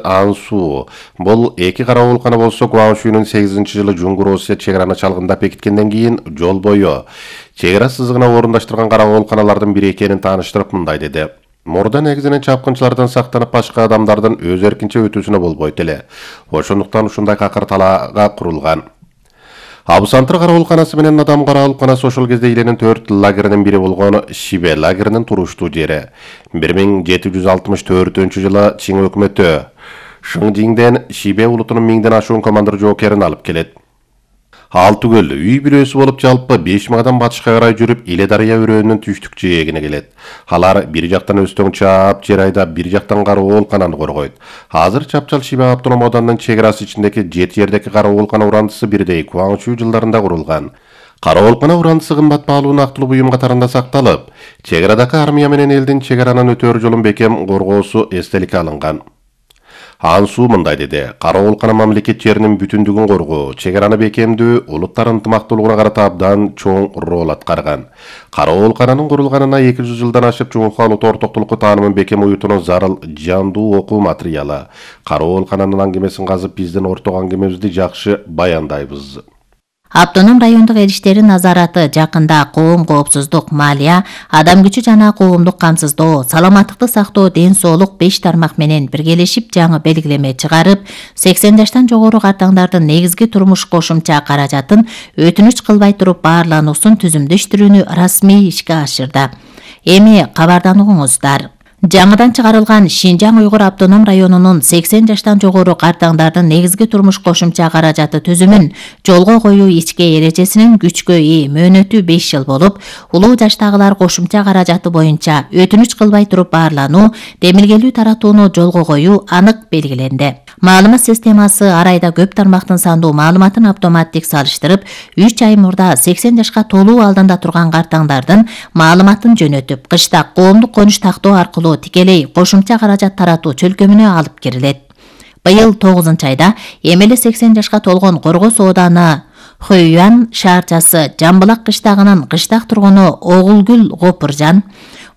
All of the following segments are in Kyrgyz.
Ансу. Бул эки карабулкана болсо Гуаншу 8-жылы Жунгур Осия чеграны чалгындап бекиткенден кийин жол бою чегара сызыгына орундаштырган карабулканалардын бири экенин тааныштырып мындай деди. Мурда негизинен чапкынчылардан сактанып башка адамдардын өз эркинче өтүүсүнө болбойт эле. Ошондуктан ушундай какыр талаага курулган. Абусантыр карабулканасы менен Адам карабулканасы ошол кезде Иленин 4 лагеринин бири болгон Шибе лагеринин туруштуу жери. 1764-жылы Чиң өкмөтү Шыңжиңден Шибе улутунун 1000ден ашуун командир жоокерин алып келет. Алтыгөл үй бирөөсү болуп жалпы 5000 адам батышка карай жүрүп Иле дарыя өрөөнүнүн түштүк жээгине келет. Алар бир жактан өстөң чаап, жер айдап, бир жактан карабулкананы коргойт. Азыр чапчал Шибе автоном ауданынын чеграсы ичиндеки 7 жердеки карабулкана урандысы бирдей Гуаншу жылдарында курулган. Карабулкана урандысы кымбат баалуу нактылуу буюм катарында сакталып, чеградагы армия менен элдин чегаранын өтөр жолун бекем коргоосу эстеликке алынган. Ансу мындай деди. Карабулкана мамлекет жеринин бүтүндүгүн коргоо, чегараны бекемдүү, улуттар ынтымактуулугуна карата абдан чоң роль аткарган. Карабулкананын курулганына 200 жылдан ашып Жумук улут ортоктулукку таанымын бекем уютууну зарыл жандуу окуу материалы. Карабулкананын аңгемесин казып биздин орток аңгемебизди жакшы баяндайбыз. Автоном райондук эл иштери назараты жакында коом коопсуздук, малия, адам күчү жана коомдук камсыздоо, саламаттыкты сактоо, ден соолук 5 тармак менен биргелешип жаңы белгилеме чыгарып, 80 жаштан жогору картаңдардын негизги турмуш кошумча каражатын өтүнүч кылбай туруп баарлануусун түзүмдөштүрүүнү расмий ишке ашырды. Эми кабардануңуздар. Жаңыдан чыгарылган Шинжаң Уйгур автоном районунун 80 жаштан жогору картаңдардын негизги турмуш кошумча каражаты түзүмүн жолго коюу ичке эрежесинин күчкө ээ мөөнөтү 5 жыл болуп, улуу жаштагылар кошумча каражаты боюнча өтүнүч кылбай туруп баарлануу, демилгелүү таратууну жолго коюу анык белгиленди. Маалымат системасы ар айда көп тармактын сандуу маалыматын автоматтик салыштырып, 3 ай мурда 80 жашка толуу алдында турган картаңдардын маалыматын жөнөтүп, кышта коомдук конуш тактоо аркылуу тикелей кошумча каражат таратуу чөлкөмүнө алып кирилет. Быйыл 9-айда эмеле 80 жашка толгон Коргос ооданы Хойюан шаарчасы Жамбылак кыштагынын кыштак тургуну Огулгүл Гопуржан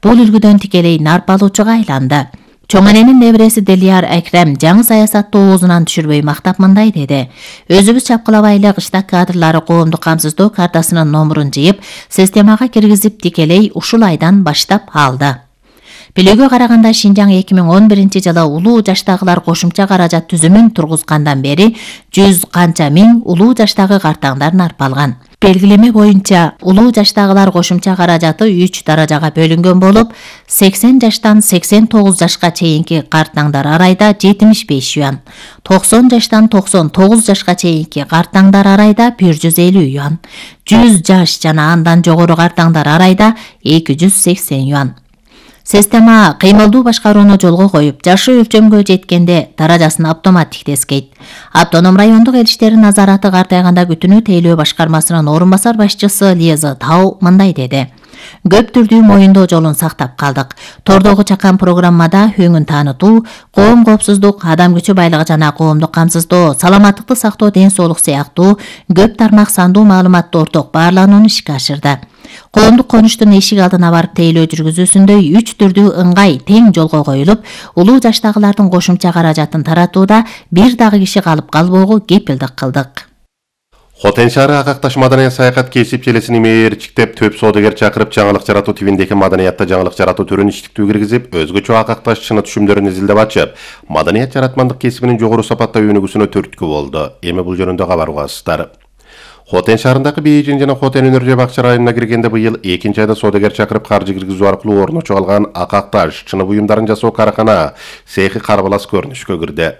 бул үлгүдөн тикелей нарпалуучуга айланды. Чоң эненин небереси Делияр Акрем жаңы саясатты оозунан түшүрбөй мактап мындай деди. Өзүбүз чапкылабайлы кыштак кадрлары коомдук камсыздоо картасынын номурун жыйып, системага киргизип тикелей ушул айдан баштап алды. Билүүгө караганда Шинжаң 2011-жылы улуу жаштагылар кошумча каражат түзүмүн тургузгандан бери 100 канча миң улуу жаштагы картаңдар нарпалган. Белгилеме боюнча улуу жаштагылар кошумча каражаты 3 даражага бөлүнгөн болуп, 80 жаштан 89 жашка чейинки картаңдар ар айда 75 юан, 90 жаштан 99 жашка чейинки картаңдар ар айда 150 юан, 100 жаш жана андан жогору картаңдар ар айда 280 юан. Система кыймылдуу башкарууну жолго коюп, жашы өлчөмгө жеткенде даражасын автоматтик тескейт. Автоном райондук эл иштери назараты картайганда күтүнүү тейлөө башкармасынын орун басар башчысы Лиза Тау мындай деди. Көп түрдүү моюндоо жолун сактап калдык. Тордогу чакан программада өңүн таанытуу, коом коопсуздук, адам күчү байлыгы жана коомдук камсыздоо, саламаттыкты сактоо, ден соолук сыяктуу көп тармак сандуу маалыматты орток баарланууну ишке ашырды. Коомдук конуштун эшик алдына барып тейлөө жүргүзүүсүндө 3 түрдүү ыңгай тең жолго коюлуп, улуу жаштагылардын кошумча каражатын таратууда бир дагы киши калып калбоого кепилдик кылдык. Хотен шаары Акакташ маданият саякат кесип желесин мээрчиктеп, төп соодагер чакырып, жаңылык жаратуу тивиндеги маданиятта жаңылык жаратуу түрүн иштиктүү киргизип, өзгөчө Акакташ чыны түшүмдөрүн изилдеп ачып, маданият жаратмандык кесибинин жогору сапаттуу өнүгүүсүнө түрткү болду. Эми бул жөнүндө кабар угасыздар. Хотен шаарындагы Бейжин жана Хотен өнөр бакча районуна киргенде быйыл 2-айда соодагер чакырып каржы киргизүү аркылуу орночо алган Акакташ чыны буюмдарын жасоо каракана цехи карбалас көрүнүшкө кирди.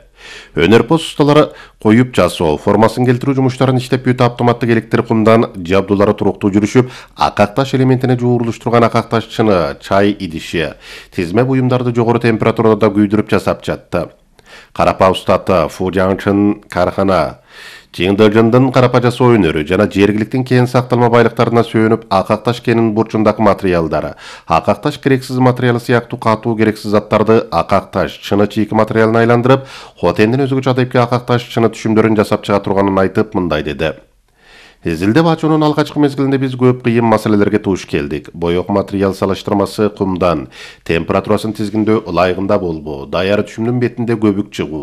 Өнөрпоз усталары коюп жасоо, формасын келтирүү жумуштарын иштеп бүтүп, автоматтык электр кумдан жабдуулары туруктуу жүрүшүп, Акакташ элементине жуурулуштурган Акакташ чыны, чай идиши, тизме буюмдарды жогору температурада күйдүрүп жасап жатты. Карапа устаты Фужаңчын кархана Чиңдыжындын карапа жасоо өнөрү жана жергиликтин кен сакталма байлыктарына сүйөнүп, Акакташ кенин бурчундагы материалдары, Акакташ керексиз материалы сыяктуу катуу керексиз заттарды Акакташ чыны чийки материалына айландырып, Хотендин өзгөчө адайыпки Акакташ чыны түшүмдөрүн жасап чыга турганын айтып мындай деди. Изилдеп ачуунун алгачкы мезгилинде биз көп кыйын маселелерге туш келдик. Боек материал салыштырмасы кумдан, температурасын тизгиндөө ылайыгында болбоо, даяр түшүмдүн бетинде көбүк чыгуу,